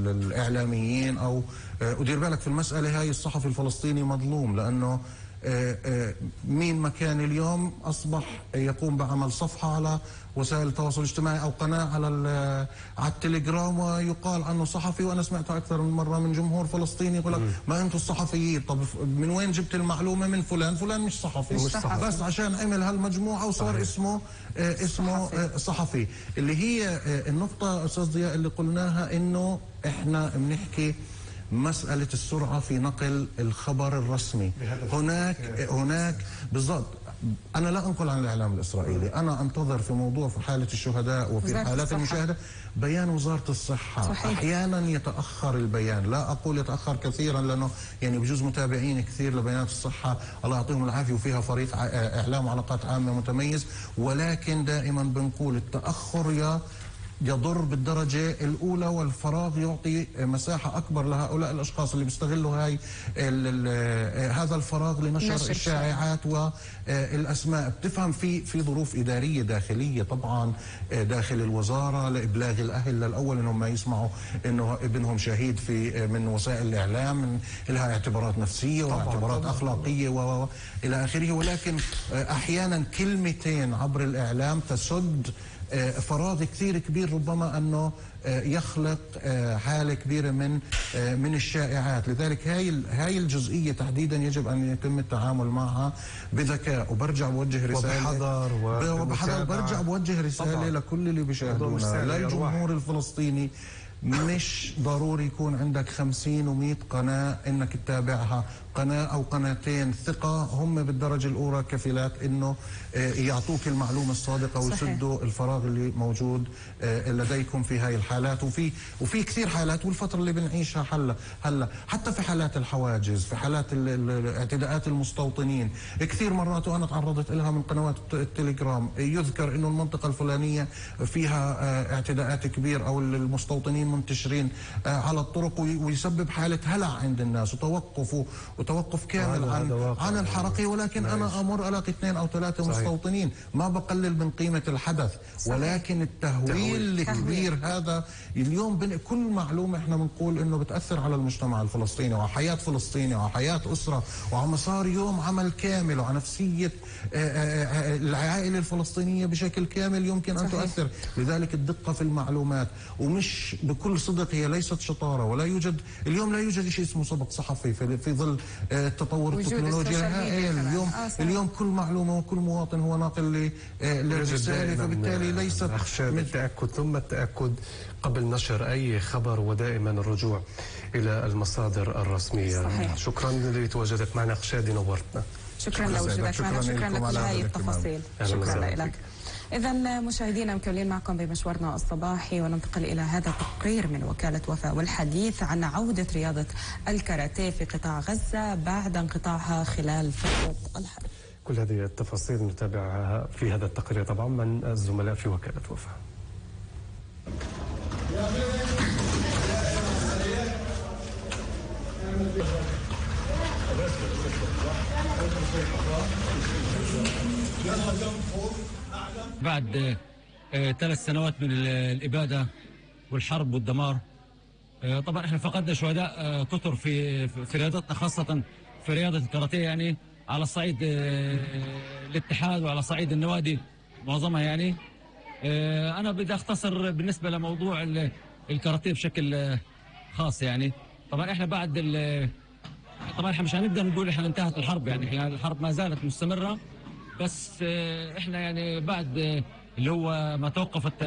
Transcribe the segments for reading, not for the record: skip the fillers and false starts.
الإعلاميين أو ودير بالك في المسألة هاي الصحفي الفلسطيني مظلوم، لأنه مين ما كان اليوم أصبح يقوم بعمل صفحة على وسائل التواصل الاجتماعي أو قناة على التليجرام ويقال عنه صحفي. وأنا سمعتها أكثر من مرة من جمهور فلسطيني يقول لك ما أنتم الصحفيين، طب من وين جبت المعلومة؟ من فلان مش صحفي، بس عشان عمل هالمجموعة وصار اسمه صحفي. اللي هي النقطة أستاذ ضياء اللي قلناها، إنه إحنا بنحكي مسألة السرعة في نقل الخبر الرسمي. هناك بالضبط. أنا لا أنقل عن الإعلام الإسرائيلي، أنا أنتظر في موضوع في حالة الشهداء وفي حالات المشاهدة بيان وزارة الصحة. صحيح. أحيانا يتأخر البيان، لا أقول يتأخر كثيرا لأنه يعني بجوز متابعين كثير لبيانات الصحة الله يعطيهم العافية وفيها فريق إعلام وعلاقات عامة متميز، ولكن دائما بنقول التأخر يضر بالدرجة الأولى، والفراغ يعطي مساحة أكبر لهؤلاء الأشخاص اللي بيستغلوا هذا الفراغ لنشر الشائعات والأسماء. بتفهم في ظروف إدارية داخلية طبعا داخل الوزارة لإبلاغ الأهل للأول إنهم ما يسمعوا إنه ابنهم شهيد من وسائل الإعلام، لها اعتبارات نفسية واعتبارات أخلاقية وإلى آخره. ولكن أحيانا كلمتين عبر الإعلام تسد فراغ كثير كبير، ربما أنه يخلق حالة كبيرة من الشائعات. لذلك هاي الجزئية تحديدا يجب أن يتم التعامل معها بذكاء. وبرجع بوجه رسالة وبحذر برجع بوجه رسالة لكل اللي بيشاهدونا، للجمهور الفلسطيني. مش ضروري يكون عندك 50 و100 قناة انك تتابعها، قناة او قناتين ثقة هم بالدرجة الاولى كفيلات انه يعطوك المعلومة الصادقة ويسدوا الفراغ اللي موجود لديكم في هاي الحالات. وفي كثير حالات، والفترة اللي بنعيشها هلا حتى في حالات الحواجز، في حالات اعتداءات المستوطنين، كثير مرات وانا تعرضت لها من قنوات التليجرام، يذكر انه المنطقة الفلانية فيها اعتداءات كبير او المستوطنين منتشرين على الطرق، ويسبب حالة هلع عند الناس وتوقف كامل عن الحركة. ولكن أنا أمر ألاقي 2 أو 3 مستوطنين، ما بقلل من قيمة الحدث. ولكن التهويل الكبير هذا اليوم كل معلومة احنا بنقول انه بتأثر على المجتمع الفلسطيني وعلى حياة فلسطيني وعلى حياة أسرة وعلى مسار يوم عمل كامل وعلى نفسية العائلة الفلسطينية بشكل كامل يمكن أن تؤثر. لذلك الدقة في المعلومات، ومش بكل صدق هي ليست شطارة، ولا يوجد اليوم لا يوجد شيء اسمه سبق صحفي في ظل تطور التكنولوجيا. اليوم كل معلومة وكل مواطن هو ناقل للرسالة، فبالتالي ليست التأكد ثم التأكد قبل نشر أي خبر، ودائما الرجوع إلى المصادر الرسمية. صحيح. شكرا لتواجدك معنا خشادي، نورتنا. شكرا لوجودك معنا، شكرا لك على هذه التفاصيل. شكرا لك. إذا مشاهدينا مكملين معكم بمشوارنا الصباحي، وننتقل إلى هذا التقرير من وكالة وفاء والحديث عن عودة رياضة الكاراتيه في قطاع غزة بعد انقطاعها خلال فترة الحرب. كل هذه التفاصيل نتابعها في هذا التقرير طبعا من الزملاء في وكالة وفاء. بعد 3 سنوات من الإبادة والحرب والدمار، طبعا احنا فقدنا شهداء كثر في رياضتنا، خاصة في رياضة الكاراتيه، يعني على صعيد الاتحاد وعلى صعيد النوادي معظمها. يعني انا بدي اختصر بالنسبة لموضوع الكاراتيه بشكل خاص. يعني طبعا احنا طبعا احنا مش هنقدر نقول احنا انتهت الحرب، يعني احنا الحرب ما زالت مستمرة، بس احنا يعني بعد اللي هو ما توقفت،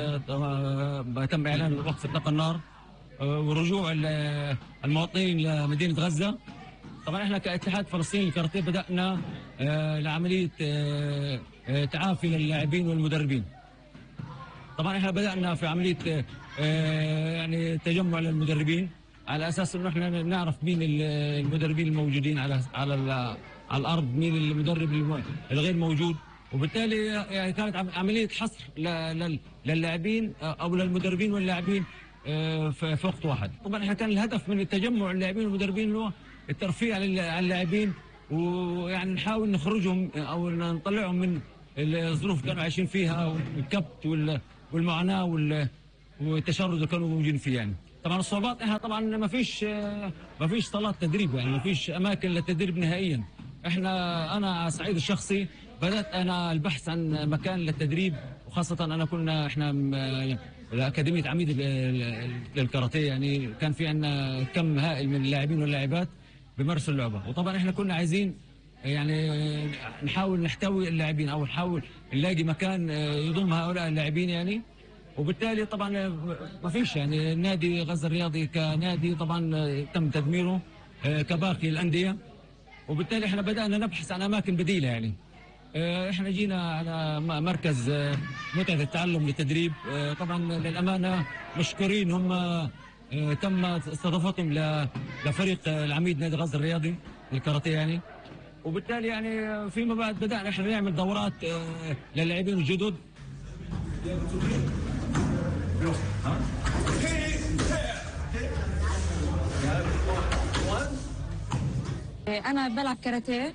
ما تم اعلان وقف اطلاق النار ورجوع المواطنين لمدينة غزة، طبعا احنا كاتحاد فلسطيني للكاراتيه بدأنا لعملية تعافي للاعبين والمدربين. طبعا احنا بدأنا في عملية يعني تجمع للمدربين على اساس انه احنا نعرف مين المدربين الموجودين على الارض، مين المدرب الغير موجود، وبالتالي يعني كانت عمليه حصر للاعبين او للمدربين واللاعبين في وقت واحد. طبعا احنا كان الهدف من التجمع اللاعبين والمدربين هو الترفيه على اللاعبين، ويعني نحاول نخرجهم او نطلعهم من الظروف اللي كانوا عايشين فيها والكبت والمعاناه والتشرد اللي كانوا موجودين فيه. يعني طبعا الصعوبات احنا طبعا ما فيش صالات تدريب، يعني ما فيش اماكن للتدريب نهائيا. انا على الصعيد الشخصي بدات انا البحث عن مكان للتدريب، وخاصه احنا الاكاديميه عميد للكاراتيه، يعني كان في عندنا كم هائل من اللاعبين واللاعبات بيمارسوا اللعبه، وطبعا احنا كنا عايزين يعني نحاول نحتوي اللاعبين او نحاول نلاقي مكان يضم هؤلاء اللاعبين يعني. وبالتالي طبعا ما فيش يعني نادي غزة الرياضي كنادي طبعا تم تدميره كباقي الأندية، وبالتالي احنا بدأنا نبحث عن أماكن بديلة يعني. احنا جينا على مركز متعة التعلم للتدريب، طبعا للأمانة مشكورين، هم تم استضافتهم لفريق العميد نادي غزة الرياضي للكاراتيه يعني. وبالتالي يعني فيما بعد بدأنا احنا نعمل دورات للاعبين الجدد. أنا بلعب كاراتيه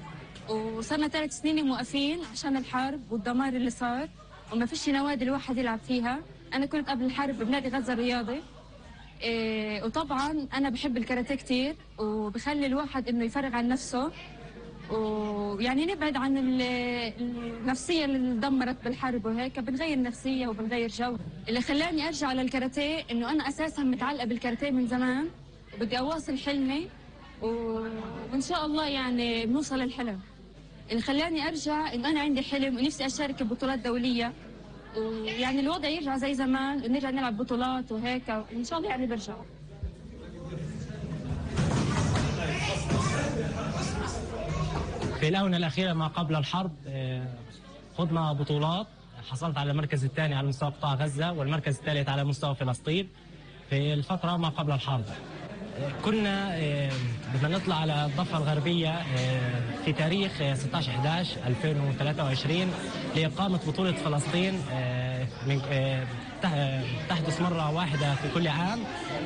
وصرنا 3 سنين موقفين عشان الحرب والدمار اللي صار، وما فيش نوادي الواحد يلعب فيها. أنا كنت قبل الحرب بنادي غزة الرياضي، وطبعا أنا بحب الكاراتيه كتير وبخلي الواحد إنه يفرغ عن نفسه، ويعني نبعد عن النفسية اللي اندمرت بالحرب وهيك، بنغير نفسية وبنغير جو. اللي خلاني أرجع للكاراتيه إنه أنا أساسا متعلقة بالكاراتيه من زمان، وبدي أواصل حلمي وإن شاء الله يعني بنوصل للحلم. اللي خلاني أرجع إنه أنا عندي حلم ونفسي أشارك ببطولات دولية، ويعني الوضع يرجع زي زمان ونرجع نلعب بطولات وهيك، وإن شاء الله يعني برجع. في الآونة الأخيرة ما قبل الحرب خضنا بطولات، حصلت على المركز الثاني على مستوى قطاع غزة والمركز الثالث على مستوى فلسطين في الفترة ما قبل الحرب. كنا بدنا نطلع على الضفة الغربية في تاريخ 16/11/2023 لإقامة بطولة فلسطين تحدث مرة واحدة في كل عام،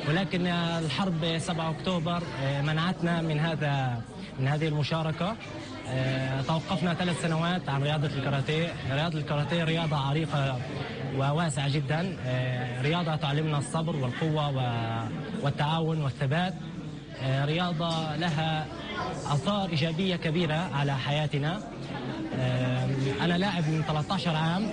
ولكن الحرب 7 أكتوبر منعتنا من هذه المشاركة. توقفنا 3 سنوات عن رياضة الكاراتيه. رياضة الكاراتيه رياضة عريقة وواسعة جدا، رياضة تعلمنا الصبر والقوة والتعاون والثبات، رياضة لها آثار إيجابية كبيرة على حياتنا. أنا لاعب من 13 عام.